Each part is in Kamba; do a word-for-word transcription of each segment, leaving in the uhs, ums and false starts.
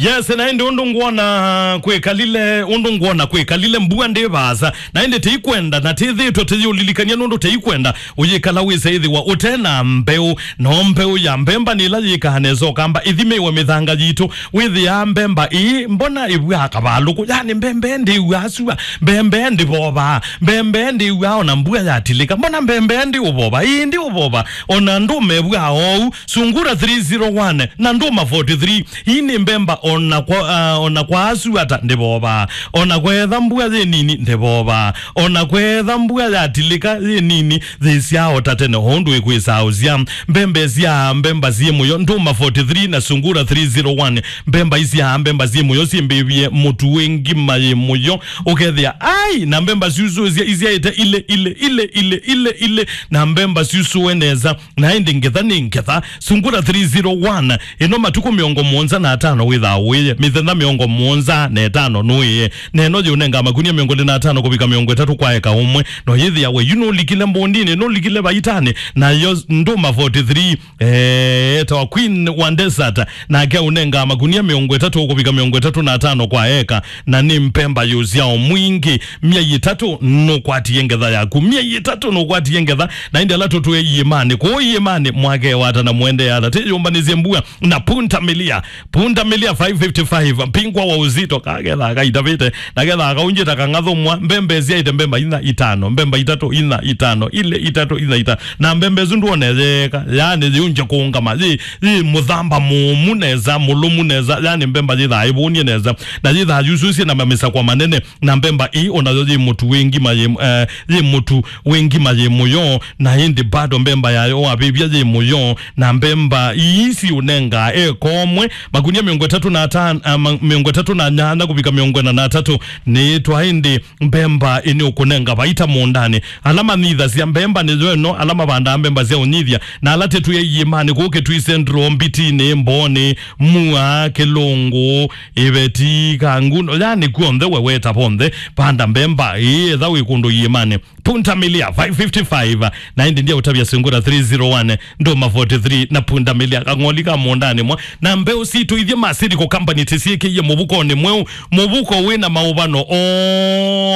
Yes, na ĩndĩ ũndũ ngwona kwĩkalile, ũndũ ngwona kwĩkalile mbua ndĩ vaasa. Na ĩndĩ tĩikwenda, na tĩthĩtwe tĩyĩũlilikany'a nũndũ tĩikwenda ũyĩkala wĩse ĩthĩwa ũte na mbeũ. No mbeũ ya mbemba nĩ ĩla yĩkaa nesa ũkamba ĩthimĩwe mĩthanga yitũ. Wĩthĩaa mbemba ĩĩ, mbona ĩvwaa kavalũkũ? Yani mbemba ĩĩ ndĩw'aa sua, mbemba ĩĩ ndĩvovaa, mbemba ĩĩ ndĩw'aa ona mbua yatilĩka. Mbona mbemba ĩĩ ndĩũvova? Ĩĩ ndĩũvova. Ona ndũma ĩvwaa oou. Sungura three zero one na ndũma forty-three. Ii nĩ mbemba ona kwa, ah, ona kwa asu ata ndĩvovaa. Ona kwetha mbua yĩ nini ndĩvovaa. Ona kwetha mbua yatilĩka yĩ nini, yĩsyaa o ta tene, o ũndũ ĩkwĩsaa ũsya. Mbemba ĩsyaa mbemba syĩ mũyo, ndũma forty-three na sungura three zero one. Mbemba isyaa mbemba syĩ mũyo, syĩmbĩvye mũtu wĩ ngima yĩ mũyo. Ũkethĩa, ai, na mbemba syusũsya isyaĩte ile, ile, ile, na mbemba syusũe nesa. Na ĩndĩ ngetha nĩ ngetha. Sungura three zero one, ĩno matukũ mĩongo mũonza na atano wĩthaa ũĩe, mĩthenya mĩongo mũonza na ĩtano nũĩe. Na ĩno yĩũnenga makunia mĩongo ĩlĩ na atano kũvika mĩongo ĩtatũ kwa eka ũmwe. No yĩthĩawe yu nũlikile mbondinĩ, nũlikile vaitanĩ, nayo ndũma forty-three, eh, etawa Queen wa Desert, nake aũnenga makunia mĩongo ĩtatũ kũvika mĩongo ĩtatũ na atano kwa eka. Na nĩ mbemba yĩ ũsyao mwingĩ, myei ĩtatũ nũkwatie ngetha yaku, myei ĩtatũ nũkwatie ngetha. Na ĩndĩ ala tũtũe iĩmanĩ, kũu iĩmanĩ mwake wata na mũendee ata, tĩyũmbanĩsye mbua na punda milia, punda milia five fifty-five, mpingwa wa uzito, kaketha kaitavĩte, na ketha kaunjĩta kang'athũmwa, mbemba ĩsyaĩte mbemba inya itano, mbemba itatũ inya itano, ile itatũ inya itano, na mbemba ĩsu ndwone yeeka, yani yĩunje kũngama, yĩ, yĩ mũthamba mũũmu nesa, mũlũmu nesa, yani mbemba yĩthaa ĩvũnie nesa, na yĩthaa yususie na mamisakwa manene. Na mbemba ii onayo yĩ mũtu wĩ ngima yĩ, eh, yĩ mũtu wĩ ngima yĩ mũyo, na ĩndĩ bado mbemba yayo wavĩvya yĩ mũyo, na mbemba ii siũnengaa eka ũmwe, makunia mĩongo ĩtatũ na atano, ah, ma-, mĩongo ĩtatũ na nyanya kũvika mĩongo ĩna na atatũ, nĩĩtwa ĩndĩ mbemba ĩnĩ ũkũnenga vaita mũũndanĩ. Ala manyithasya mbemba nĩyo ĩno, ala mavandaa mbemba sya ũnyithya, na ala tĩtwĩe iĩmanĩ kũu Kitui Central, Mbitinĩ, Mbooni, Mua, Kĩlũngũ, Iveti, Kangundo, yani kw'onthe we weta vonthe, vanda mbemba ĩĩ, etha wĩ kũndũ iĩmanĩ. Punda milia five fifty-five, na ĩndĩ ndia ũtavya sungura three zero one, ndũma forty-three, na punda milia kang'oli ka mũũndanĩ mwa. Na mbeũ sitũ ithyĩ ma Seed Co Company tĩsyĩkĩie mũvukonĩ mweũ, mũvuko wĩ na maũvano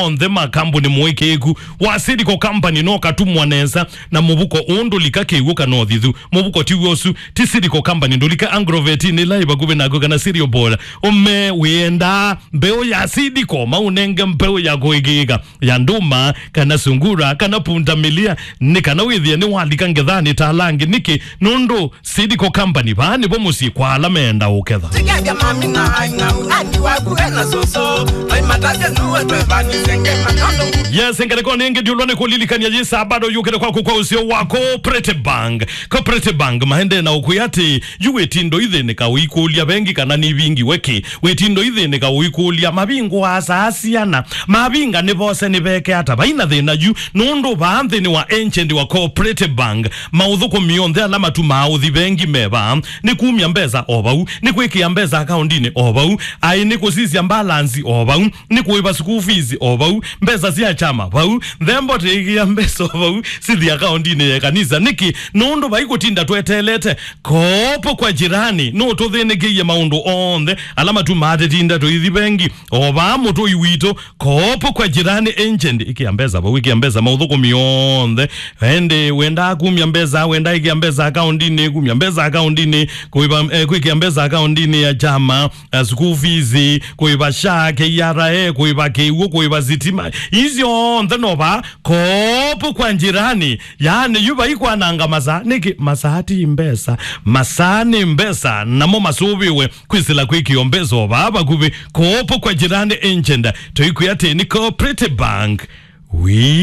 onthe ma kambuni mũĩkĩĩku wa Seed Co Company, no katumwa nesa na mũvuko ũũ ndũlika kĩw'ũ kana ũthithu. Mũvuko ti w'o ũsu, ti Seed Co Company, ndũlika Agrovet nĩ ĩla ĩ vakuvĩ naku kana Cereal Board. Ũme wĩendaa mbeũ ya Seed Co, maũnenge mbeũ ya kũĩkĩĩka ya ndũma kana sungura kana punda milia, nĩ kana wĩthĩe nĩwalika ngethanĩ ta ala angĩ. Nĩkĩ? Nũndũ Seed Co Company, vaa nĩvo mũsyĩ kwa ala meenda ũketha. Tikethya mami na aing'au, andi waku ena soso, maimatavya nuwe twevanise ngema nyondo. Yes, ngalĩkonĩ ĩngĩ ndiũlwa nĩ kũlilikany'a yĩsa bado yũkĩte kwaku kwa ũseo wa Cooperative Bank. Cooperative Bank maendee na ũkwĩa atĩ, yu wĩtindo ithĩnĩka ũikũlya vengi kana nĩvingiwe kĩ? Wĩtindo ithĩnĩka ũikũlya, mavingũa saa siana? Mavinga nĩvose nĩveke ata? Vaina thĩna yu, nũndũ vaa nthĩnĩ wa agent wa Cooperative Bank, maũthũkũmi onthe ala matumaa ũthi vengi me vaa. Nĩ kumya mbesa o vau, nĩ kwĩkĩa mbesa akaũndinĩ o vau, aĩ nĩ kũsisya balance o vau, nĩ kũĩva school fees o vau, mbesa sya kyama vau, nthembo tĩĩkĩa mbesa o vau, sithi akaũndinĩ ya kanisa. Nĩkĩ? Nũndũ vai kũtinda tweteelete. Kopo kwa jirani nũtũthĩnĩkĩie maũndũ onthe ala matumaa tĩtinda tũithi vengi. O vaa mũtũi witũ, Kopo kwa jirani agent, ĩkĩa mbesa vau, ĩkĩa mbesa maũthũkũmi onthe. Ĩndĩ wendaa kumya mbesa, wendaa ĩkĩa mbesa akaũndinĩ, kumya mbesa akaũndinĩ, kũĩva, eh, kwĩkĩa mbesa akaũndinĩ ya kyama, eh, school fees, kũĩva SHA, K R A, kũĩva kĩw'ũ, kũĩva sitima. Icio onthe no vaa Kopo kwa jirani. Yaani, yu vai kwananga masaa. Nĩkĩ? Masaa ti mbesa. Masaa nĩ mbesa. Namo masũvĩwe kwĩsĩla kwĩkĩo mbesa o vaa vakuvĩ. Kopo kwa jirani agent. Tũikwĩa atĩ nĩ Cooperative Bank. Wii.